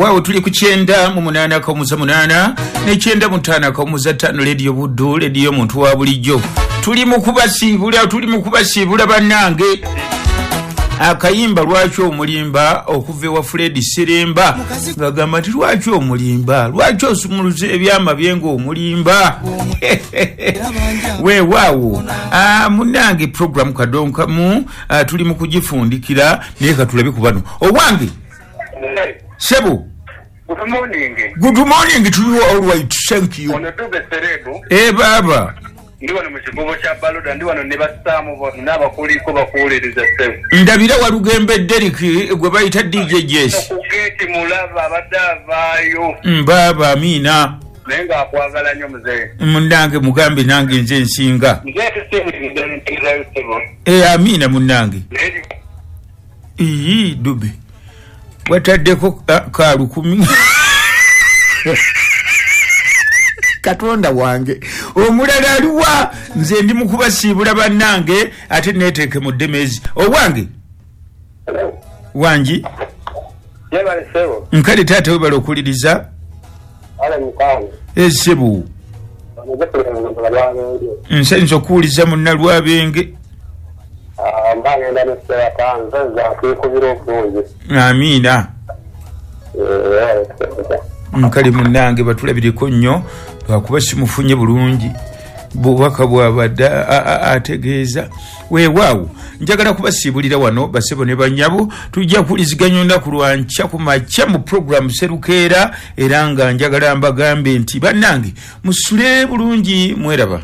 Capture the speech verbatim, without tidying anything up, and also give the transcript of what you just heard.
Waawo tuli ku kyenda mu munaana akawumuza munaana ne kyenda mu ttaano akawumuza ttaano, Lediyo Buddu, lediyo muntu wa bulijjo. Tuli mu kubasiibula, tuli mu kubasiibula bannange. Akayimba "Lwaki Omulimba" okuva ewa Fred Seremba, ngagamba nti lwaki omulimba, lwaki osumuluza ebyama bye ng'omulimba. Weewaawo munange, programu kadonkamu tuli mu kugifundikira, naye katulabe ku bano. Owange sebo. Good morning. Good morning to you. All right, thank you. Ono Dube Serebu. E baba. Ndi wano mu kigobo kya Baloda, ndi wano ne bassaamu bano n'abakuliko bakuwuliriza, ssebo. Ndabira Walugembe Derek gwe bayita D J Jess. Ku geeti mulaba abadde avaayo. Mbaaba, amiina. Naye ng'akwagala nnyo, muzeeyi. Munnange, mugambe nange nze nsinga. Nze tusinzidde ntegezayo, ssebo. E amiina munnange. Naye Iyi Dube wataddeko ka lukumi. Katonda wange, omulala aliwa? Nze ndi mukubasiibula bannange, ate neteeke mu ddemezi. Owange, wangi. Yebale, ssebo. Nkale taata, webala okuliriza. Ale mukwano. Esebo. Nsanyusa okuwuliza munnalwabenge. Mba ngenda ne ssewaka, nze nze akwekubira obulungi. Amiina. Nkale munnange, batulabireko nnyo lwakuba simufunye bulungi bubaka bwabadde ategeeza. Weewaawo njagala kubasiibulira wano, basebo ne banyabo. Tujja kuwuliziganya olunaku lwankya ku makya mu puroguramu Serukeera, era nga njagala mbagambe nti bannange musule bulungi, mweraba.